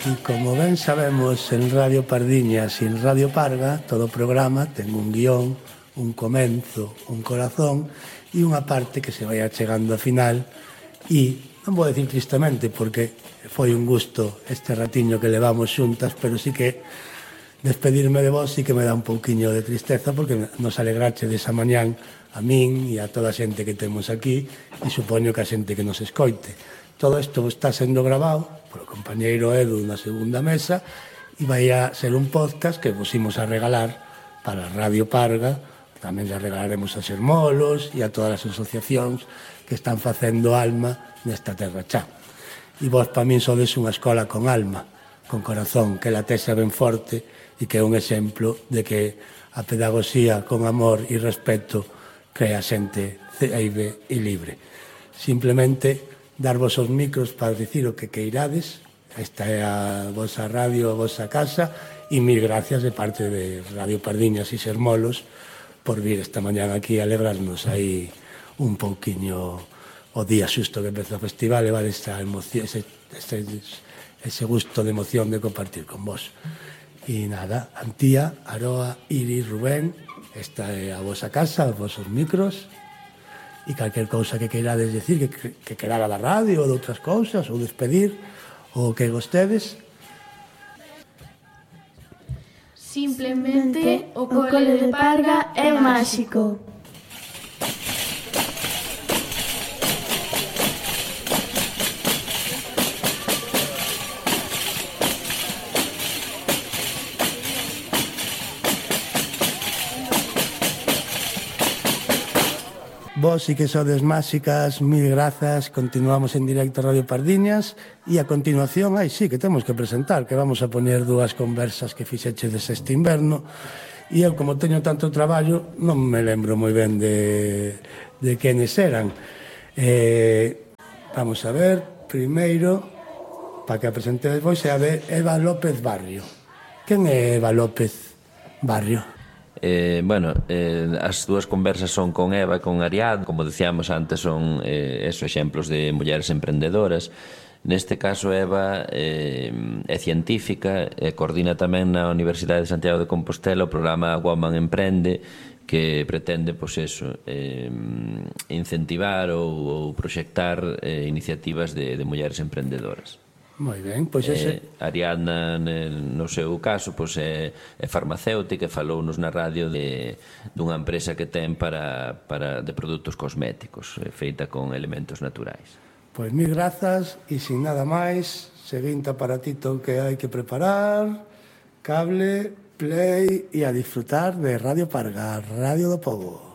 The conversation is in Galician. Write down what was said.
E como ben sabemos, en Radio Pardiñas e en Radio Parga, todo programa ten un guión, un comenzo, un corazón e unha parte que se vai achegando ao final. E non vou decir tristemente, porque foi un gusto este ratiño que levamos xuntas, pero sí que despedirme de vos sí que me dá un pouquiño de tristeza, porque nos alegrache desa mañán a min e a toda a xente que temos aquí, e supoño que a xente que nos escoite. Todo isto está sendo grabado polo compañeiro Edu na segunda mesa e vai a ser un podcast que vos imos a regalar para Radio Parga. Tamén le regalaremos a Xermolos e a todas as asociacións que están facendo alma nesta terra chá. E vos, para min, sodes unha escola con alma, con corazón, que la tesa ben forte e que é un exemplo de que a pedagogía con amor e respeto crea xente ceibe e libre. Simplemente darvos os micros para dicir o que queirades. Esta é a vosa radio, a vosa casa, e mil gracias de parte de Radio Pardiñas e Xermolos por vir esta mañán aquí a alegrarnos aí un pouquiño o día xusto que empeza o festival, levar esa emoción, ese gusto de emoción de compartir con vos. E nada, Antía, Aroa, Iris, Rubén, esta é a vosa casa, os vosos micros, e calquer cousa que queirades decir, que querara da radio ou de outras cousas, ou despedir, ou que gostedes. Simplemente o cole de Parga é máxico. Vos sí que sodes máxicas, mil grazas. Continuamos en directo a Radio Pardiñas e a continuación, sí que temos que presentar, que vamos a poñer dúas conversas que fixechedes este inverno, e eu, como teño tanto traballo, non me lembro moi ben de quenes eran. Vamos a ver, primeiro, para que a presentedes vos, é a de Eva López Barrio. Quen é Eva López Barrio? As dúas conversas son con Eva e con Ariadna. Como decíamos antes, son exemplos de mulleres emprendedoras. Neste caso, Eva é científica e coordina tamén na Universidade de Santiago de Compostela o programa Woman Emprende, que pretende incentivar ou proxectar iniciativas de mulleres emprendedoras. Moi ben, pois Ariadna, no seu caso, é farmacéutica e falounos na radio dunha empresa que ten de produtos cosméticos, feita con elementos naturais. Pois mil grazas, e sin nada máis, seguinte aparatito que hai que preparar, cable, play e a disfrutar de Radio Parga, Radio do Pobo.